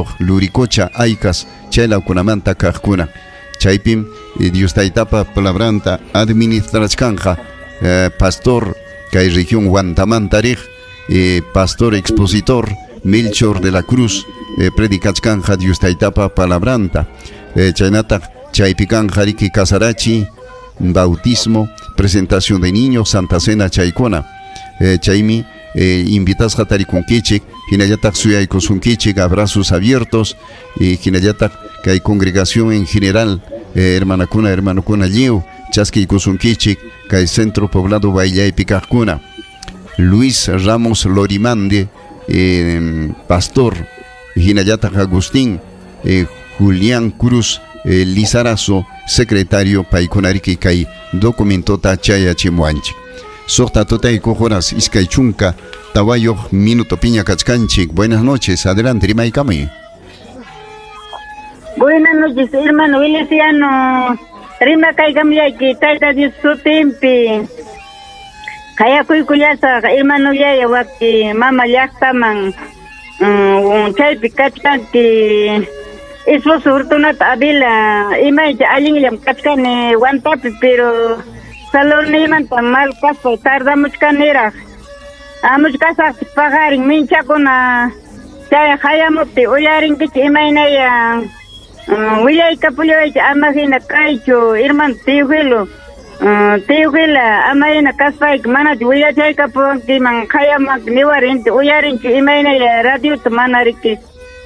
watayuq Luricocha Aycas chaylawkunamanta kaqkuna. Chaypim Dios Taytapa palabranta administrachkanqa pastor kay región Huantamanta riq pastor expositor Melchor de la Cruz predicachkanja Dios Taytapa palabranta. Chaynataq chaypi kanja riki casarachi, bautismo, presentación de niños, Santa Cena chaykuna. Chaymi invitasqa tarikunkichik, hinallataq suyaykusunkichik, abrazos abiertos, y hinallataq kay congregación en general, hermanakuna, hermanokuna lliw chaskiykusunkichik kay centro poblado Baillaypi kaqkuna. Luis Ramos Lorimande, pastor, hinallataq Agustín Julián Cruz Lizarazo, secretario, paykunariki kay documentota chayachimuanchik. Suqta tutaykuq horas iskay chunka tawayuq minuto piña kachkanchik. Buenas noches, adelante, rimaykamuy. Buenas noches, hermano Feliciano. Rimakaykamllayki, Tayta Dios sutinpi. Qayakuykullasaq, hermano yaya waki mama llaqtaman. Chaypi kachkanki. Esposo Fortunato Avila, imaycha allinllam kachkani Huantapi, pero salonimanta mal kaspa tardamuchkaniraq. Amuchkasaqchik paqarin minchakuna chay hayamupti uyarinkichik imaynaya willaykapullawaychik ama hina kaychu, hermano Teofilo. Teofila, ama hina kaspayki manachu willachaykapuwankiman hayamanki niwarinti uyarinchu imaynaya radiota mana riki.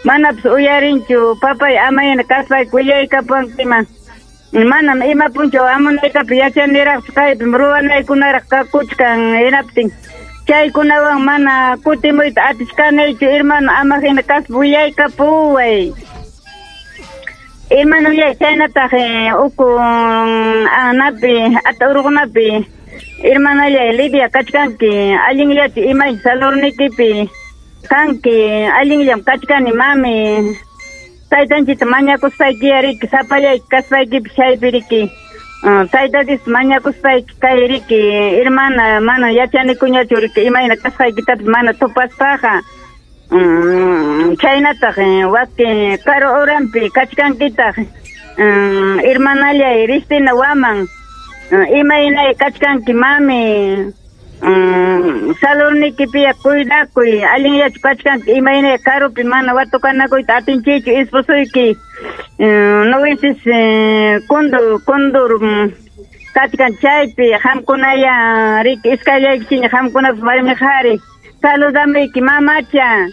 Manapas uyarinchu papay ama hina kaspayki willaykapuwankiman. Manam ima punchaw amunaykapi yachaniraqchu kaypim ruwanaykunaraq kakuchkan hinaptin. Chaykunawan mana kutimuyta atichkanichu, hermano, ama hina kaspa willaykapuway. Hermano, chaynataq uku anapi, ata urqunapi, hermanallay Lidia kachkanki, allinllachu imay salornikipi kanki, allinllam kachkani mami. Taytanchita mañakuspayki riki, sapallayki kaspaykipi chaypi riki. Tayta Dios mañakuspayki kay riki, hermana, mana yachanikuñachu riki, imayna kasqaykitapas mana tupaspaqa. Chaynataq waki karu uranpi kachkankitaq, hermanallay Ristina Waman, imaynay kachkanki mami. Salornikipiya cuidakuy, allinllachu kachkanki, imaynay karupi mana watukanakuyta atinchikchu, esposoyki nowisis kundur kachkan chaypi, qamkunaya riki iskayllaykichiña qamkunapas warmi qhari. Saludamayki mamacha.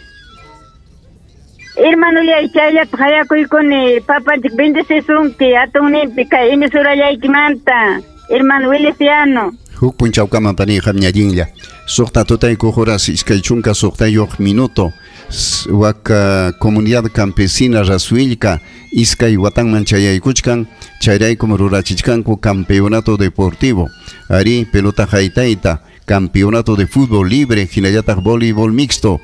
Hermanollay chayllata qayakuykuni, papanchik bendecisunki atunninpi kay emisurallaykimanta, hermano Feliciano. Huk punchawkaman pani qamñallinlla. Suqta tutaykuq horas iskay chunka suqtayuq minuto. Waka comunidad campesina Rasuilca iskay watanman chayaykuchkan, chayraykum rurachichkanku campeonato deportivo. Ari pelota haytayta, campeonato de fútbol libre, hinallataq voleibol mixto.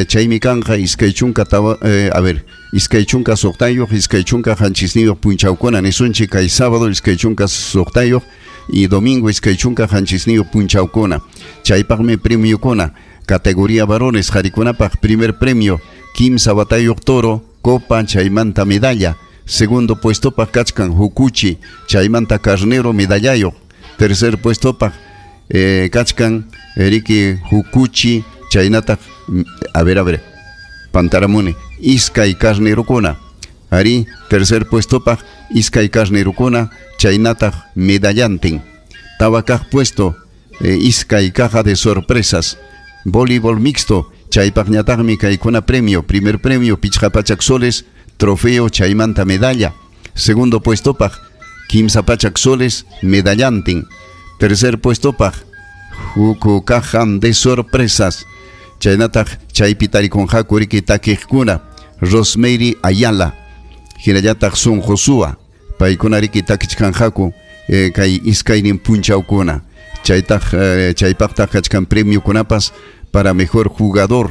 Chaymi kanja iskay chunka tawa, a ver, iskay chunka suqtayuq, iskay chunka qanchisniyuq punchawkuna nisunchik kay sábado iskay chunka suqtayuq y domingo iskay chunka qanchisniyuq punchawkuna. Chaypaqmi premiokuna, categoría varones qharikunapaq primer premio kimsa watayuq toro, copa chaymanta medalla. Segundo puestopaq kachkan hukuchi, chaymanta carnero medallayuq. Tercer puestopaq kachkan riki hukuchi chaynataq, a ver, pantaramuni, iskay carnerokuna. Ari, tercer puestopaq iskay carnerokuna, chaynataq medallantin. Tawa kaq puesto, iskay caja de sorpresas. Voleibol mixto, chaypaqñataqmi kaykuna premio, primer premio pichqa pachak soles, trofeo chaymanta medalla. Segundo puestopaq kimsa pachak soles, medallantin. Tercer puestopaq huku caja de sorpresas. Chaynataq chaypi tarikunqaku riki takiqkuna, Rosemary Ayala, hinallataq Son Josua, paykuna riki takichkanqaku kay iskaynin punchawkuna. Chaytaq chaypaqtaq kachkan premiokunapas para mejor jugador,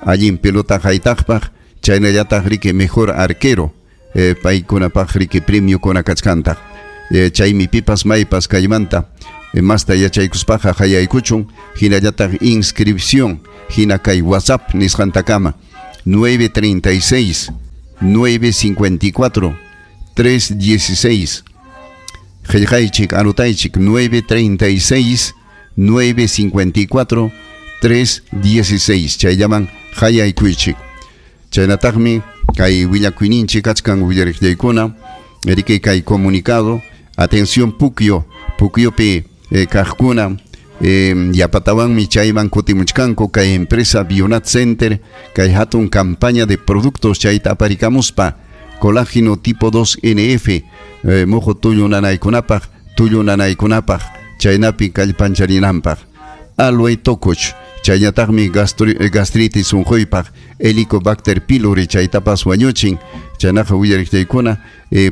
allin pelota haytaqpaq, chaynallataq riki mejor arquero, paykunapaq riki premiokuna kachkantaq. Chaymi pipas maypas kaymanta masta yachaykuspaqa hayaykuchun, hinallataq inscripción hina kay WhatsApp nisqantakama 936 954 316. Qillqaychik, anotaychik 936 954 316. Chayllaman qayaykuychik. Chaynataqmi kay willakuyninchik kachkan willariqllaykuna, riki kay comunicado, atención Puquio, Puquiopi kaqkuna, yapatawanmi chayman kutimuchkanku kay empresa Bionat Center, kay hatun campaña de productos chayta aparikamuspa, colágeno tipo 2 NF, muhu tullu nanaykunapaq, tullu nanaykunapaq, chaynapi kallpancharinanpaq. Aloe tokuch, chaynataqmi gastritis unquypaq, Helicobacter pylori chaytapas wañuchin, chaynaqa willariqllaykuna,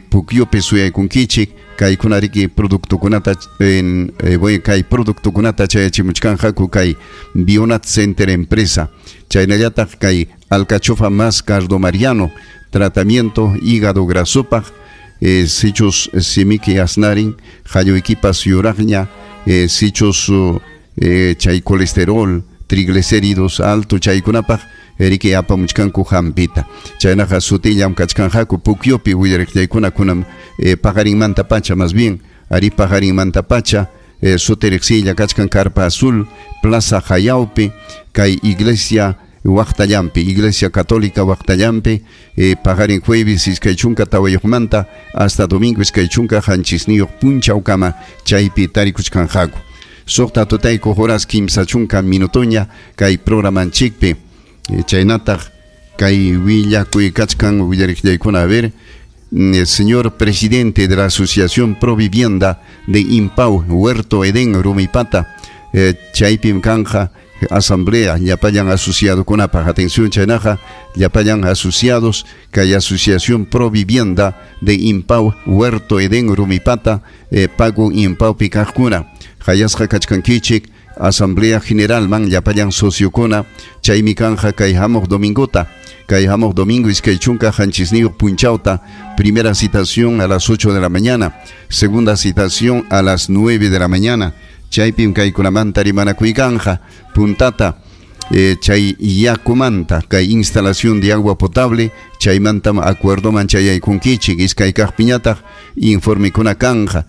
Puquiopi suyaykunkichik, kaykuna riki productokunata, kay productokunata chayachimuchkanqaku kay Bionat Center empresa. Chaynallataq kay alcachofa más cardo mariano, tratamiento hígado grasopaq, sichus simiki asnarin, qalluykipas yuraqña, sichus chay colesterol, triglicéridos alto chaykunapaq, riki apamuchkanku hampita. Chaynaqa sutillam kachkanqaku Puquiopi willariqllaykuna kunam paqarinmanta pacha, más bien, ari paqarinmanta pacha, sutiriqsilla kachkan Carpa Azul, Plaza Jayaupi, kay Iglesia Waqtallampi, Iglesia Católica Waqtallampi, paqarin jueves 24 manta hasta domingo 27 punchawkama chaypi tarikuchkanqaku. 6 tutayku horas 30 minutoña kay programanchikpi. Chaynataq kay willakuy kachkan willariqllaykuna, a ver, el señor presidente de la Asociación Pro Vivienda de Impau, Huerto Edén, Rumipata, chaypim kanja asamblea llapallan asociadokunapaq. Atención chaynaqa llapallan asociados kay Asociación Pro Vivienda de Impau, Huerto Edén, Rumipata, pago Impaupi kaqkuna. Qayasqa kachkankichik Asamblea General man llapallan sociokuna, chaymi kanja kay hamuq domingota, kay hamuq domingo 27 punchawta, primera citación a las 8 de la mañana, segunda citación a las 9 de la mañana. Chaypim kaykunamanta rimanakuykanja, puntata chay yakumanta, kay instalación de agua potable, chaymantam acuerdoman chayaykunkichik. Iskay kaqpiñataq informekuna kanja,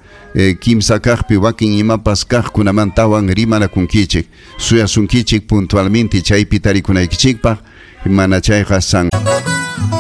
kimsa kaqpi wakin imapas kaqkunamantawan rimanakunkichik. Suyasunkichik puntualmente chaypi tarikunaykichikpaq, mana chayqa san